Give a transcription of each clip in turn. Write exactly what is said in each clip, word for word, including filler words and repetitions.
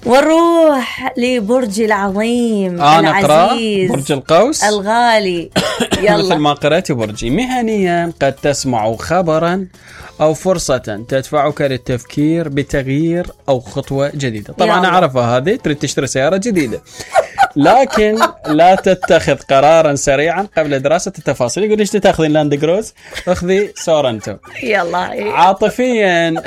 ونروح لبرج العظيم آه العزيز برج القوس الغالي. يلا. مثل ما قرأت برجي. مهنيا قد تسمع خبرا أو فرصة تدفعك للتفكير بتغيير أو خطوة جديدة. طبعا أعرفها هذه، تريد تشتري سيارة جديدة لكن لا تتخذ قرارا سريعا قبل دراسة التفاصيل. يقول ليش تاخذين لاند كروز؟ اخذي سورنتو. يلا. عاطفيا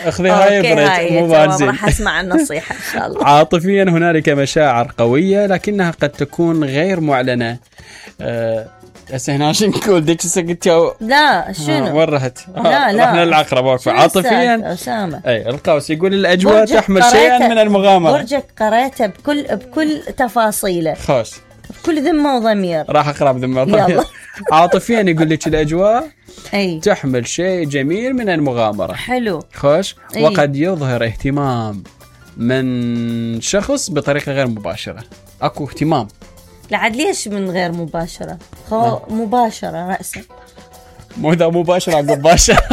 اخذي هايبريد مو بنزين. راح اسمع النصيحة ان شاء الله. عاطفيا هنالك مشاعر قوية لكنها قد تكون غير معلنة. أه هسه هنا شو نقول ديك سكتي؟ لا شنو؟ آه وين رحت؟ آه لا لا رحنا للعقرب. عاطفيا أسامة. اي القوس يقول الاجواء تحمل شيئا من المغامرة. برجك قريته بكل بكل تفاصيله. خوش. بكل ذمة وضمير. راح اقرا بذمة وضمير. عاطفيا يقول لك الاجواء أي. تحمل شيء جميل من المغامرة. حلو. خوش. أي. وقد يظهر اهتمام من شخص بطريقة غير مباشرة. اكو اهتمام. لعد ليش من غير مباشرة؟ خو مباشرة رأسا. مو ذا مباشرة عقب باشرة.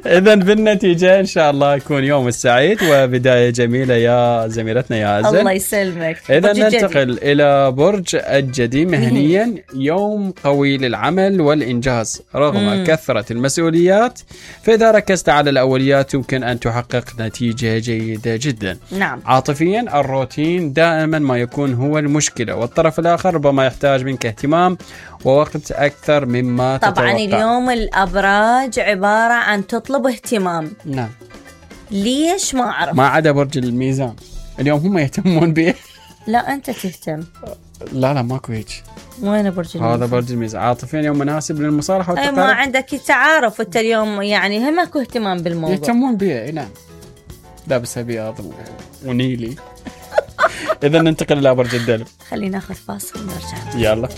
إذن بالنتيجة إن شاء الله يكون يوم السعيد وبداية جميلة يا زميلتنا يا عزل. الله يسلمك. إذن ننتقل إلى برج الجدي. مهنيا يوم قوي للعمل والإنجاز رغم مم. كثرة المسؤوليات، فإذا ركزت على الأوليات يمكن أن تحقق نتيجة جيدة جدا. نعم. عاطفيا الروتين دائما ما يكون هو المشكلة، والطرف الآخر ربما يحتاج منك اهتمام ووقت أكثر مما طبعا تتوقع. اليوم الأبراج عبارة عن تطلب اهتمام. نعم. ليش ما أعرف. ما عدا برج الميزان اليوم هم يهتمون به. لا أنت تهتم. لا لا ماكو هيك. وين برج الميزان؟ هذا برج الميزان. عاطفيا يوم مناسب للمصالحة والتقارب. أي ما عندك تعارف أنت اليوم، يعني هم اكو اهتمام بالموضوع. يهتمون به. نعم. لابس أبيض ونيلي. إذا ننتقل إلى برج الدلو. خلينا ناخذ فاصل ونرجع. يلا.